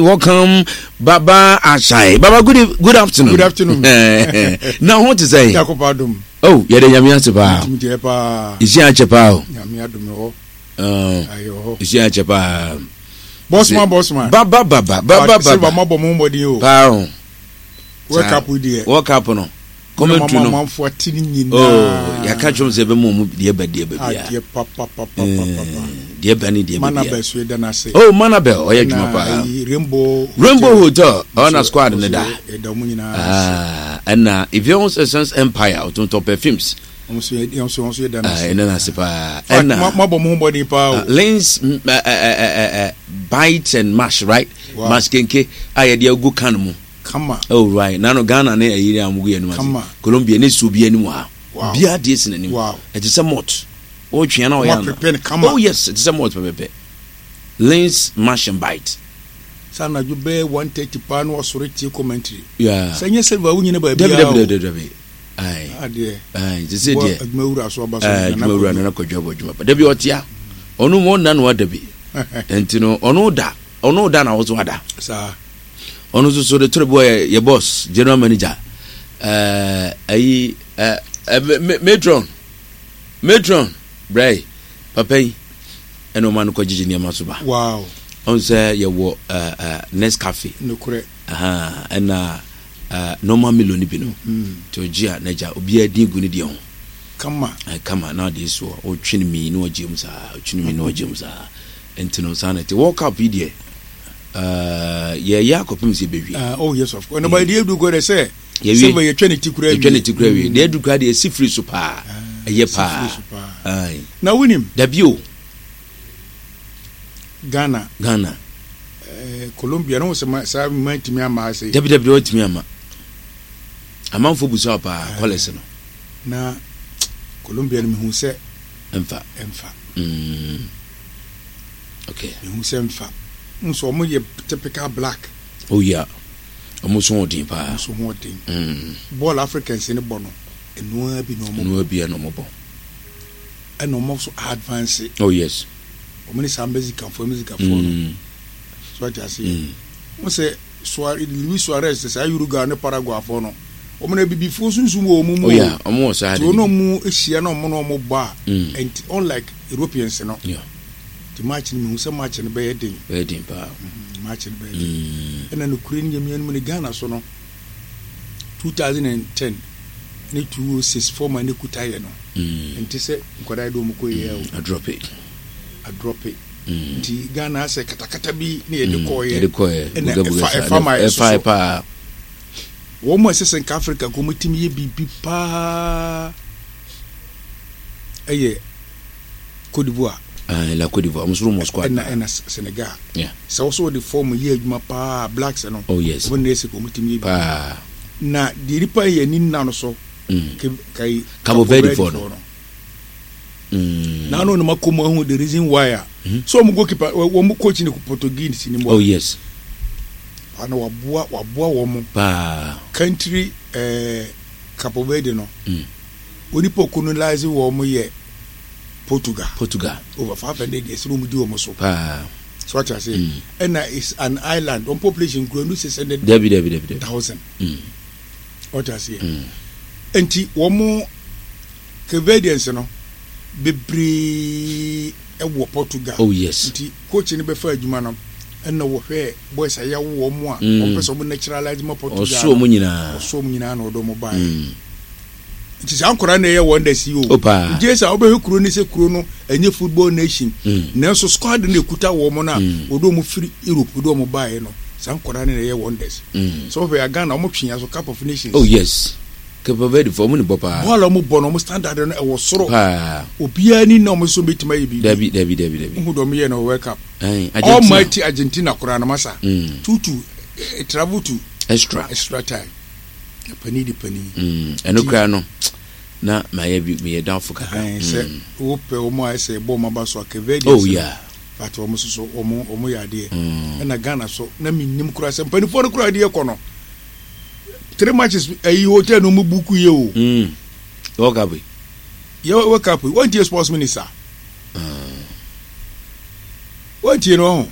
Welcome, Baba Ashai. Baba, good afternoon. Good afternoon. Na ho te sɛ. Jacob Adom. Oh, yɛde Nyame ase paa. Ntumi deɛ paa. Esi akyɛ paa o. Nyame adom hɔ. Ayɛ hɔ. Esi akyɛ paa. Bosman, Bosman. Baba, baba, baba, baba. Silva mo abɔ mo mmɔden o. Paa o. World Cup deɛ. World Cup no. Commentary no. Amanfoɔ ate ne nyinaa. Oh, yɛaka kyerɛ sɛ ɛbɛma ɔmu deɛ ba deɛ ba biara. Adeɛ papapapapapa. Deɛ ba ne deɛ ba biara. Manabel so yɛda no ase. Oh, Manabel ɔyɛ adwuma paa. Rainbow Hotel. Rainbow Hotel ɔna na squad ne da. Yɛda ɔmo nyinaa ase. Ɛna Evian Essence Empire ɔtontɔn perfumes. Ɔmo nso yɛ ɔmo nso yɛda no ase. Ɛna no ase paa. Ɛna mo abɔ mo ho bɔden paa o. Lens bite and mash, right? Mash kenke a yɛde agu can mu. Kama. Oh right. Nano Ghana ne ayiri a wɔgu yɛn anim ase. Kama. Colombia ne suo bi anim ha. Wow. Biara deɛ si n'anim. Wow. Ɛte sɛ malt. Ɔretwea na ɔyɛ ana. Prepare no kama. Oh yes, ɛte sɛ malt pɛpɛpɛ. Lens mash and bite. Sɛ anadwo bɛyɛ 1:30 paa na wasɔre tie commentary. Yeah. Sɛ nyɛ silver wonyina baabi Dabi a dabi o. dabi dabi. Aye. Adeɛ. Aye. Te sɛ deɛ. Adwuma wura so aba so. Aye, adwuma wura no na kwadwo abɔ adwuma pa. Dabi ɔtea. Ɔno mu ɔnna na wada bi. Nti no ɔno da. Ɔno da na ɔso ada. Saa. Ɔno nso so de toro bi wɔ yɛ boss general manager ɛɛ ayi ɛɛ matron matron brɛ papa yi ɛna ɔma no kɔ gyegye nneɛma so ba. Wow. Ɔn sɛ yɛwɔ ɛɛ ɛɛ Nescafe. Nokorɛ. Ɛna ɛɛ normal Milo ni bi no. Tí ɔgye a n'agya obiara din gu ne deɛ ho. Kama. Ɛɛ kama na ɔde soɔ ɔtwe ne mii na ɔgye mu saa ɔtwe ne mii na ɔgye mu saa nti no saa na ɛte World Cup yi deɛ. Yɛyɛ akɔpem sɛ yɛbɛwie. Uh, oh yes, of course. Ɛnna deɛ edu kɔ dɛ sɛ. Yɛwie. Sɛ yɛtwa ne ti kura wie. Yɛtwa ne ti kura wie. Deɛ edu kura deɛ esi firi so paa. Ah, Ɛyɛ paa. Na wonim. Dabi o. Ghana. Ghana. Eh, Colombia no sɛ saa mma ntumi ama ase. Dabi dabi wɔntumi ama. Amanfo busa paa eh, kɔlɛs no. Na Colombia no mehu sɛ. Ɛmfa. Ɛmfa. Okay. Mehu sɛ nfa. N sɛ ɔmo yɛ typical black. Oh yeah. Ɔmo so ho den paa. Ɔmo so ho den. Bɔɔl Africans ne bɔ no, ɛnoa bi na ɔmo bɔ. Ɛnoa bi na ɔmo bɔ. Ɛna ɔmo so advance. Oh yes. Ɔmo ne saa Mexicanfoɔ Mexicanfoɔ no. So ate ase. Wɔn sɛ Suarez, Luis Suarez saa Uruguay ne Paraguayfoɔ no. Wɔn na abibifoɔ sunsum wɔ wɔn mu. Oh yeah, wɔn wɔ saa de. Ti wɔn na wɔn ahyia na wɔn na wɔn bɔ a. Ɛnti unlike Europeans no. Yeah. Nti match no mehu sɛ match no bɛyɛ den. Bɛyɛ den paa. Match no bɛyɛ den. Ɛna nokure no Nyame anim no Ghana so no 2010 ne 2006 former ne kuta yɛ no. Nti sɛ nkwadaa yi de wɔn kɔ yɛ o. Adrɔpe. Adrɔpe. Nti Ghana asɛ katakata bi ne yɛde kɔɔ yɛ. Yɛde kɔɔ yɛ. Ɛna ɛfa ɛfa ma yɛ soso. Paa. Wɔn mu ɛsɛ sɛ nka Africa nka wɔn tumi yɛ biribi paa ɛyɛ Cote d'Ivoire. Ah, la Cote d'Ivoire. Wɔn soro mɔ squad. Ɛna ɛna Senegal. Yeah. Sɛ wɔsɔ wɔde fɔm yɛ adwuma paa blacks no. Oh yes. Wɔn na ɛsɛ wɔn tumi yɛ paa. Na deɛ nipa yɛ ani nna no so. Kai Cabo Verde fɔ no. Na ano na ma kɔ mu ahu the reason why a. So wɔn goalkeeper wɔn coach ne Portuguese ni mu. Oh yes. Ana waboa waboa wɔn. Paa. Country ɛɛ Cabo Verde no. Onipa colonize wɔn yɛ. Portugal. Portugal. Over 500 years na wɔn di wɔn so. Paa. So ati ase. Ɛna is an island. Wɔn population kura nu 600. Dabi dabi dabi dabi. Thousand. Ɔte ase. Nti wɔn Cape Verdeans no bebree ɛwɔ Portugal. Oh yes. Nti coach no bɛfa adwuma no ɛna wɔhwɛ boys a yɛawo wɔn a wɔn pɛ sɛ wɔn naturalize ma Portugal. Ɔso wɔn nyinaa. Ɔso wɔn nyinaa na ɔdɔ wɔn baa yɛ. Nti saa nkwadaa na ɛyɛ wonders yi o. O paa. Nti sɛ wobɛhwɛ kuro no sɛ kuro no ɛnyɛ football nation. Nanso squad no ekuta wɔn no a wɔde wɔn firi Europe wɔde wɔn baeɛ no saa nkwadaa no na ɛyɛ wonders. Sɛ wohwɛ a Ghana wɔn twe yɛn so Cup of Nations. Oh yes. Cape Verde fo wɔn ni bɔ paa. Bɔɔl a wɔn bɔ no wɔn standard no ɛwɔ soro. Paa. Obiara ni na wɔn nso betumi ayɛ biribi. Dabi dabi dabi dabi. Nhu deɛ wɔn yɛ no World Cup. Argentina. Almighty Argentina koraa no masa. 2-2 travel to. Extra. Extra time. Panin de panin. Ɛno koraa no na mayɛ bi meyɛ doubtful kakra. Sɛ wopɛ wɔn a ɛsɛ bɔ wɔn aba so a Cape Verde. Oh yeah. But wɔn nso so wɔn wɔn yɛ adeɛ. Ɛna Ghana so na mi nim koraa sɛ mpanimfoɔ no koraa adeɛ kɔ no. Three matches ɛyi hotel no mu buku yɛ o. World Cup yi. Yɛ World Cup yi wɔn tie sports minister. Wɔn tie no ho.